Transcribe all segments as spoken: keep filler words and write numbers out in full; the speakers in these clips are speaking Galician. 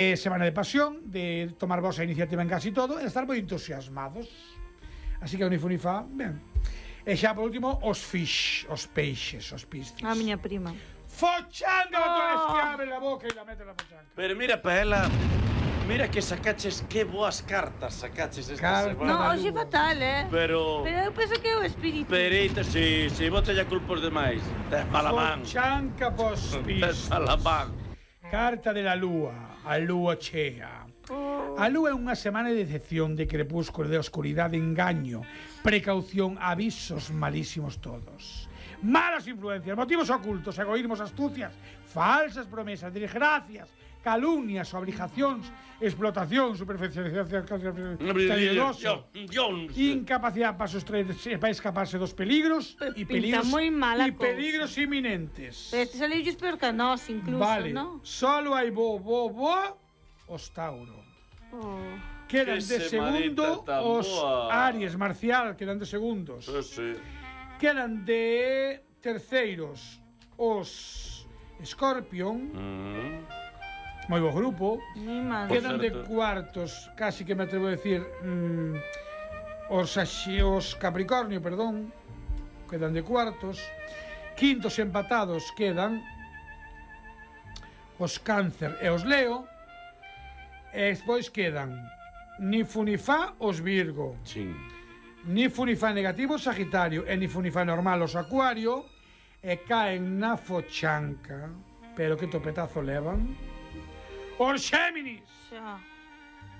Eh, semana de pasión, de tomar vosa iniciativa en casi todo e estar moi entusiasmados. Así que o Nifunifa, ben. E xa por último, os fish, os peixes, os piscis. A miña prima. Fochanga, Oh. tú eres que abre la boca e la mete la fochanga. Pero mira, Paela, mira que sacaches, que boas cartas sacaches esta Carta. semana. No, hoxe fatal, eh? Pero... Pero eu penso que é o espírito. Perita, si, si, bote ya culpos demais. Tes mala man. Fochanga pos Tes piscis. mala man. Carta de la lúa, a lúa chea. Oh. A lúa é unha semana de decepción, de crepúsculo, de oscuridade, engaño, precaución, avisos malísimos todos. Malas influencias, motivos ocultos, egoísmos, astucias, falsas promesas, desgracias, calumnias, obligacións, explotación, superficialización, incapacidade para sostraer, para escaparse dos peligros e Pinta peligros moi mala e cousa. peligros inminentes. Pero este saliu peor que a nós, incluso, Vale, ¿no? solo hai bo, bo, bo, os Tauro. Oh. Quedan Que de segundo semanita tan os boa. Aries, Marcial, quedan de segundos. Sí, sí. Quedan de terceiros os Scorpion, Mm. moi bo grupo. Mi madre. Quedan de certo. cuartos, casi que me atrevo a decir, mm, os, Axi, os Capricornio, perdón, quedan de cuartos. Quintos empatados quedan os Cáncer e os Leo. E despois quedan ni fu ni fa os Virgo, Sí. ni fu ni fa negativo os Sagitario e ni fu ni fa normal os Acuario, e caen na fochanca, pero que topetazo levan, os Xéminis, Xa.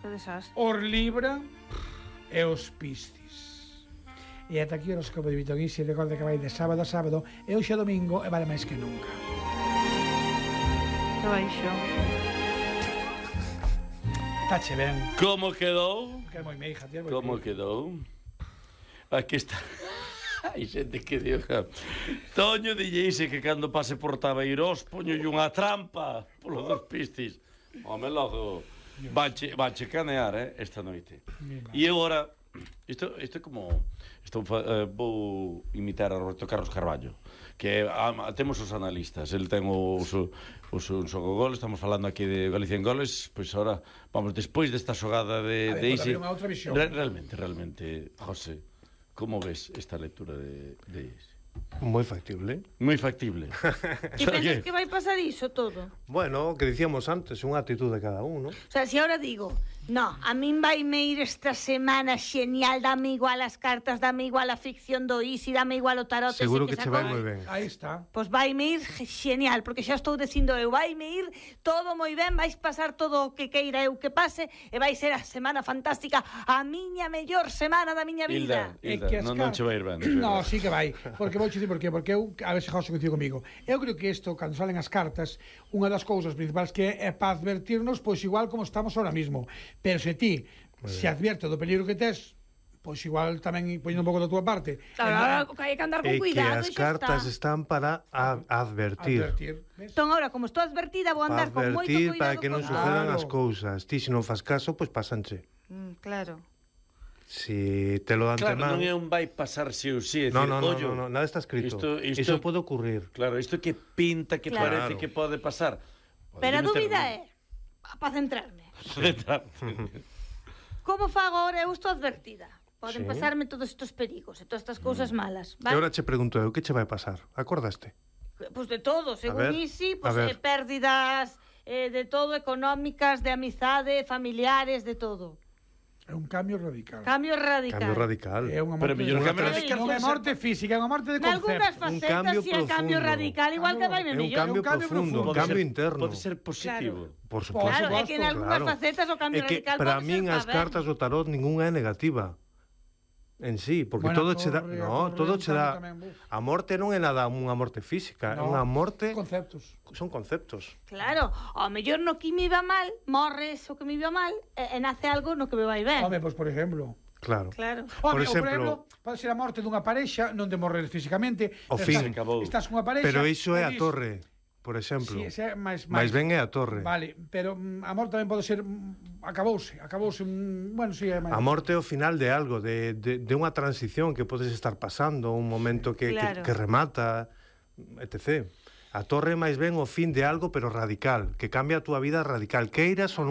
Que desastre. os Libra e os Piscis. E ata aquí o horóscopo de Vitoguisi. Recorde que vai de sábado a sábado e hoxe domingo e vale máis que nunca. Que baixo. Tache ben. Como quedou? Que é moi meija, tío. moi Como meija. quedou? Aquí está. Hai xente que diga Toño dilleise que cando pase por Tabeirós poñolle unha trampa polo dos Piscis. Home, logo vanche, vanche canear, eh, esta noite. E agora isto, isto é como isto, uh, vou imitar a Roberto Carlos Carballo, que ah, temos os analistas, el ten os os os goles, estamos falando aquí de Galicia en goles, pois pues ahora vamos despois desta xogada de A ver, de pode Isi. haber unha outra visión. Re, realmente, realmente, José, como ves esta lectura de de Isi? Moi factible. Moi factible. E pensas que vai pasar iso todo? Bueno, o que dicíamos antes, unha actitud de cada un, ¿no? O sea, si ahora digo, no, a min vai me ir esta semana genial, dame igual as cartas, dame igual a ficción do Isi, dame igual o tarot. Seguro ese que che sacou. vai moi ben. Aí está. Pois vai me ir genial, porque xa estou dicindo eu, vai me ir todo moi ben, vais pasar todo o que queira eu que pase, e vai ser a semana fantástica, a miña mellor semana da miña vida. Hilda, Hilda, non, non che vai ir ben. No, sí que vai. Porque vou che dicir por qué. Porque eu, a ver se José coincide comigo, eu creo que isto, cando salen as cartas, unha das cousas principais que é para advertirnos, pois igual como estamos ahora mismo. Pero se ti se advierte do peligro que tes, pois igual tamén poñendo un pouco da túa parte. Claro, ahora hai que andar con É que cuidado as e xa cartas está. están para a- advertir. Advertir. Ves? Entón, ahora, como estou advertida, vou Para andar con moito advertir, cuidado. para que non con- sucedan Claro. as cousas. Ti, se non fas caso, pois pasanche. Mm, claro. Si te lo dan Claro, antemán... non é un vai pasar si ou si, é No, dicir, no, no, ollo, no, no, nada está escrito. Isto, isto, Eso pode ocurrir. Claro, isto que pinta, que Claro. parece que pode pasar. Pero a dúbida é, para centrarme, é... como fago ahora? Eu estou advertida. Poden Sí. pasarme todos estos perigos e todas estas cousas malas, E vale? agora che pregunto eu, que che vai pasar? Acordaste? Pois de todo, según ver, Isi, a pois ver. eh, pérdidas eh, de todo, económicas, de amizade, familiares, de todo. É un cambio radical. Cambio radical. Cambio radical. É unha Pero morte, mellor unha cambio tra- radical non é pode morte física, é unha morte de Nalgúnas concepto. Un facetas cambio si é cambio profundo. radical, igual que vai me É un mellor. cambio un cambio profundo, un profundo. cambio ser, interno. Pode ser positivo. Por Por suposto. Claro, é que en algúnas claro. facetas o cambio É que radical para pode min ser as pa ben. cartas do tarot ningunha é negativa en sí, porque Bueno, todo a che dá, torre, a no, torre todo é un che dá. cambio tamén, buf. A morte non é nada unha morte física, é No, unha morte, conceptos. son conceptos. Claro, ao mellor no que me iba mal, morres o que me iba mal, e, e nace algo no que me vai ben. Home, pois por exemplo, Claro. Claro. Home, Por ou, por exemplo, exemplo, pode ser a morte dunha parexa, non de morrer físicamente, O pero fin. estás, Acabou. estás cunha parexa. Pero iso é e a dis- torre, por exemplo. Sí, ese é máis, Mais ben é a torre. Vale, pero mm, a morte tamén pode ser mm, acabouse, acabouse, mm, bueno, si sí, é máis. A morte é o final de algo, de, de, de unha transición que podes estar pasando, un momento que, Claro. que, que remata, etcétera. A torre máis ben o fin de algo, pero radical, que cambia a túa vida radical. Queiras ou non